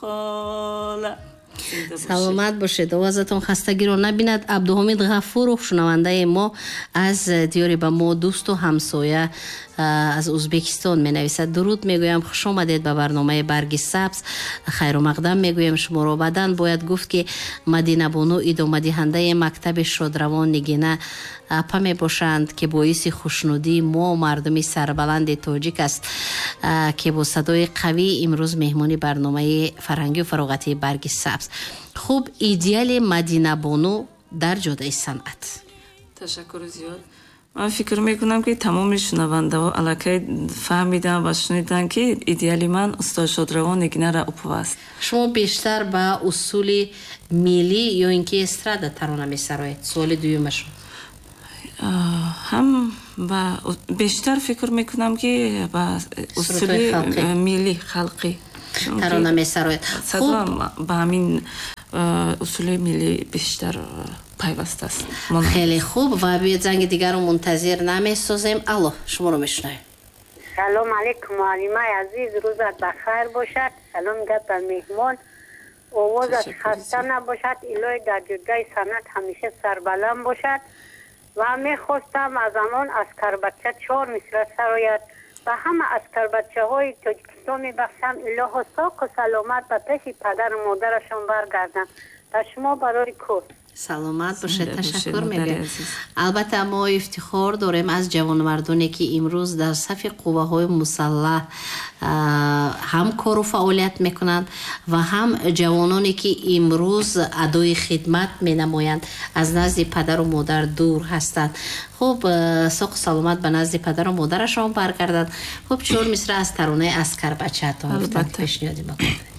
Хола. Саломат бошед, овозатон хастагиро набинад. Абдуҳомид Ғафуров, шунавандаи мо аз диёри ба мо дӯсту ҳамсоя, аз Узбекистон менависад: дуруд мегӯям, хуш омадед ба барномаи «Барги сабз», хайрумақдам мегӯям шуморо. Баъдан бояд гуфт, ки Мадинабону идомадиҳандаи мактаби шодравон Нигина апа мебошанд, ки боиси хушнудии мо, мардуми сарбаланди тоҷик аст, ки бо садои қавӣ имрӯз меҳмони барномаи фарҳангию фароғатии «Барги сабз». Хуб, идеали Мадинабону дар ҷодаи санъат? Ташаккури зиёд. Ман фикр мекунам, ки тамоми шунавандаҳо аллакай фаҳмиданд ва шуниданд, ки идеали ман устод шодравон Нигина Раупова аст. Шумо бештар ба усули миллӣ ё ин ки эстрада тарона месароед? Суоли дуюмашон. Ҳам ба бештар фикр мекунам, ки ба усули миллӣ, халқӣ тарона месароед. Садоам ба ҳамин усули миллӣ бештар пайваст аст. Хеле хуб, ва биёед, занги дигарро мунтазир намесозем. Алло, шуморо мешунавем. Салом алейкум, муаллимаи азиз, рӯзат ба хайр бошад. Салом гап ба меҳмон. Овозат хаста набошад, илоҳӣ дар ҷуддаи санъат ҳамеша сарбаланд бошад. Ва мехостам аз ҳамон «Аскарбача» чор мисра сарояд. Ба ҳама аскарбачаҳои Тоҷикистон мебахшам, илоҳо соқу саломат ба пеши падару модарашон баргарданд. Ба шумо барои кор. Саломат бошед, ташаккур мегӯям. Албатта, мо ифтихор дорем аз ҷавонмардоне, ки имрӯз дар сафи қувваҳои мусаллаҳ ҳам кору фаъолият мекунанд ва ҳам ҷавононе, ки имрӯз адои хидмат менамоянд, аз назди падару модар дур ҳастанд. Хуб, соқу саломат ба назди падару модарашон баргарданд. Хуб, чор мисра аз таронаи «Аскарбачаатон» пешниҳоди мо кардед.